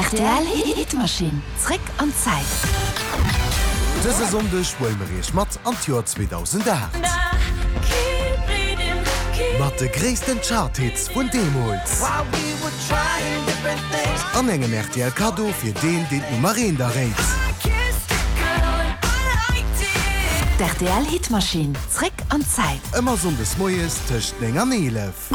Rtl Hitmaschinn, zréck an d'Zäit. Dëse Sonndeg huele mer iech mat an d'Joer 2008. Mat de gréissten Chart-Hits vun deemools. An engem rtl Kaddo fir deen, deen d'Nummer eent erréit. D'RTL Hitmaschinn, zréck an d'Zäit. Ëmmer Sonndes moies tëscht 9 an 11.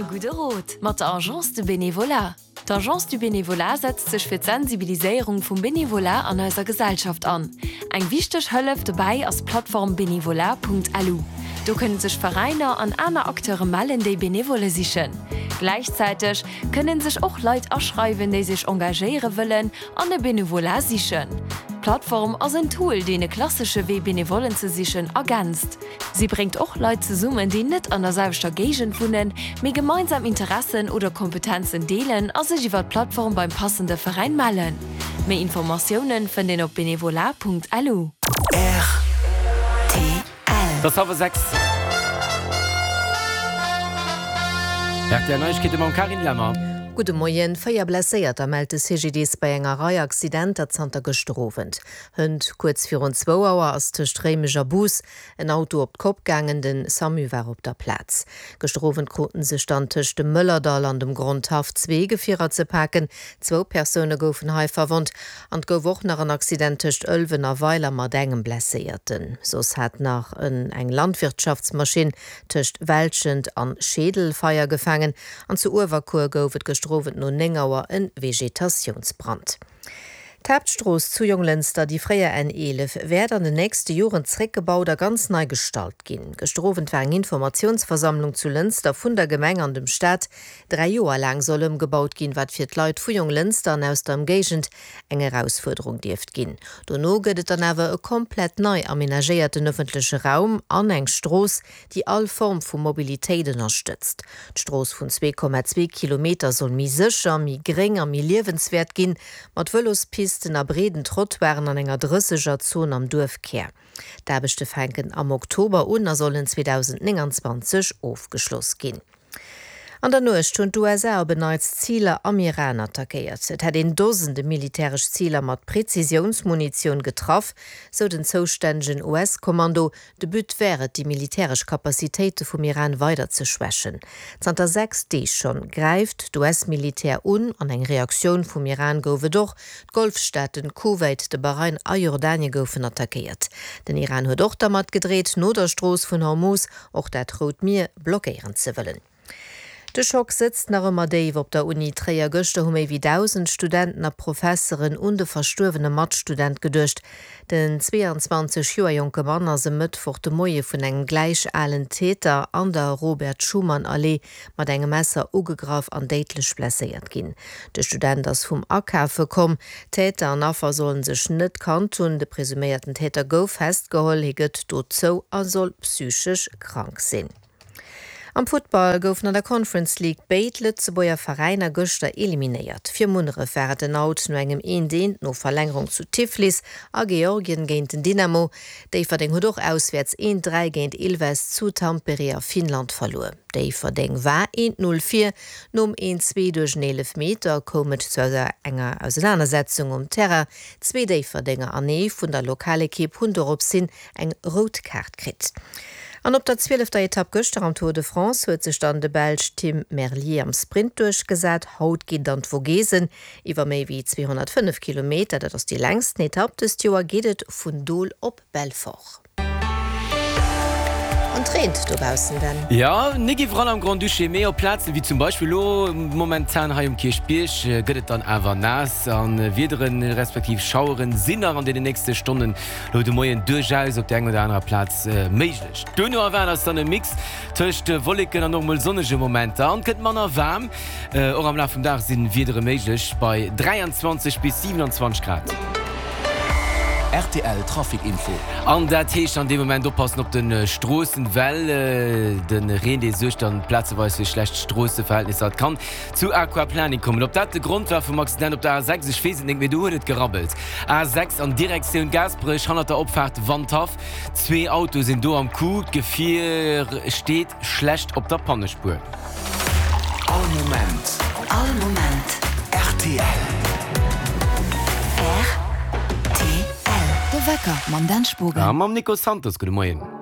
E gudde Rot mat der Agence de Bénévolat. D'Agence du Bénévolat setzt sech fir d'Sensibiliséierung vum Bénévolat an eiser Gesellschaft an. Eng wichteg Hëllef dobäi ass d'Plattform bénévolat.lu. Do kënne sech Veräiner an aner Acteure mellen, déi Benevolle sichen. Gläichzäiteg kënne sech och Leit aschreiwen, déi sech engagéiere wëllen an e Benevolat sichen. D'Plattform ass en Tool, deen e klassesche Wee Benevollen ze sichen ergänzt. Si bréngt och Leit zesummen, déi net an der selwechter Géigend wunnen, mee gemeinsam Interessen oder Kompetenzen deelen a sech iwwer d'Plattform beim passende Veräin mellen. Méi Informatioune fënnt een op benevolat.lu. Rtl. Et ass hallwer 6. Rtl Neiegkeete mam Carine Lemmer. Gudde Moien. 4 Blesséierter mellt de CGDIS bei enger Rei Accidenter zanter gëschter Owend. Hënt kuerz virun zwou Auer ass tëscht Réimech a Bous en Auto op d'Kopp gaangen. Den Samu war op der Plaz. Gëschter Owend kruten sech dann tëscht dem Mëllerdall an dem Grondhaff zwee Gefierer ze paken. Zwou Persoune goufen hei verwonnt an et gouf och nach en Accident tëscht Ëlwen a Weiler mat engem Blesséierten. Soss hat nach en eng Landwirtschaftsmaschinn tëscht Welschent an Scheedel Feier gefaangen an zu Uewerkuer gouf et gëschter Owend no 9 Auer en Vegetatiounsbrand. D'Haaptstrooss zu Jonglënster, déi fréier N 11, wäert an den nächste Joren zréckgebaut a ganz nei gestalt ginn. Gëschter Owend war eng Informatiounsversammlung zu Lënster vun der Gemeng an dem Staat. Dräi Joer laang soll ëmgebaut ginn, wat fir d'Leit vu Jonglënster an aus der Ëmgéigend eng Erausfuerderung dierft ginn. Dono gëtt et dann awer e komplett nei amenagéierten ëffentleche Raum an eng Strooss, déi all Form vu Mobilitéit ënnerstëtzt. D'Strooss vun 2,2 Kilometer soll méi sécher, méi gréng a méi liewenswäert ginn, mat Vëlospisten a breeden Trottoiren an enger Drësseger-Zon am Duerfkär. D'Aarbechte fänken am Oktober un a sollen 2029 ofgeschloss ginn. An der Nuecht hunn d'USA op en Neits Ziler am Iran attackéiert. Et hätt een Dosende militäresch Ziler mat Prezisiounsmunitioun getraff, sou den zoustännegen US-Kommando. De But wär et, déi militäresch Capacitéite vum Iran weider ze schwächen. Zanter 6 Deeg schonn gräift d'US-Militär un an eng Reaktioun vum Iran gouf et och. D'Golfstaaten Kuwait, de Bahrain a Jordanien goufen attackéiert. Den Iran huet och dermat gedreet, no der Strooss vun Hormuz och dat Rout Mier blockéieren ze wëllen. De Schock sëtzt nach ëmmer déif op der Uni Tréier. Gëschter hu méi wéi 1.000 Studenten a Professeren un de verstuerwene Matstudent geduecht. Den 22 Joer jonke Mann ass e Mëttwoch de Moie vun engem gläich alen Täter an der Robert-Schuman-Allee mat engem Messer ugegraff an déidlech blesséiert ginn. De Student ass vum Akafe komm. Täter an Affer sollen sech net kannt hunn. De presuméierten Täter gouf festgeholl. Hie gëtt dozou a soll psychesch krank sinn. Am Futtball goufen an der Conference League béid Lëtzebuerger Veräiner gëschter eliminéiert. Fir Munneref war et den Out no engem Eent Eent no Verlängerung zu Tiflis a Georgien géint den Dynamo. Déifferdeng huet och auswäerts Eent 3 géint Ilves zu Tampere a Finnland verluer. Déifferdeng war Eent 0 vir. Nom Eent 2 duerch en Eelefmeter koum et zu enger Ausenanersetzung um Terrain. Zwee Déifferdenger an ee vun der Lokalekipp hunn dorops hin eng rout Kaart kritt. An op der zwielefter Etapp gëschter am Tour de France huet sech dann de Belsch Tim Merlier am Sprint duerchgesat. Haut geet et an d'Vogesen iwwer méi wéi 205 Kilometer. Dat ass déi längsten Etapp dëst Joer, geet et vun Dol op Belfort. An et reent dobaussen, Dan. Jo, nik iwwerall am Grand-Duché, mee op Plazen wéi zum Beispill elo momentan hei um Kierchbierg gëtt et dann awer naass a Wiederen respektiv Schaueren sinn nach an deenen nächste Stonnen Lo de Moien duerchaus op der eng oder anerer Plaz méiglech. Duerno erwaart eis dann e Mix tëscht Wolleken an och mol sonnege Momenter an et gëtt manner waarm. Och am Laf vum Dag si Wiedere méiglech bei 23 bis 27 Grad. Rtl Trafic Info. An dat heescht an deem Moment oppassen op de Stroossen, well de Reen dee suergt dann plazeweis fir schlecht Stroosseverhältnisser. Et kann zu Aquaplaning kommen. Ob dat de Grond war vum Accident op der A6, ech weess et nik, mee do huet et gerabbelt. A6 an Direktioun Gaasperech, hannert der Opfaart Wandhaff. Zwee Autoe sinn do am Coup, d'Gefier steet schlecht op der Pannespuer. All Moment. All Moment. Rtl. Wecker mam Dan Spogen. A mam Nico Santos. Gudde Moien.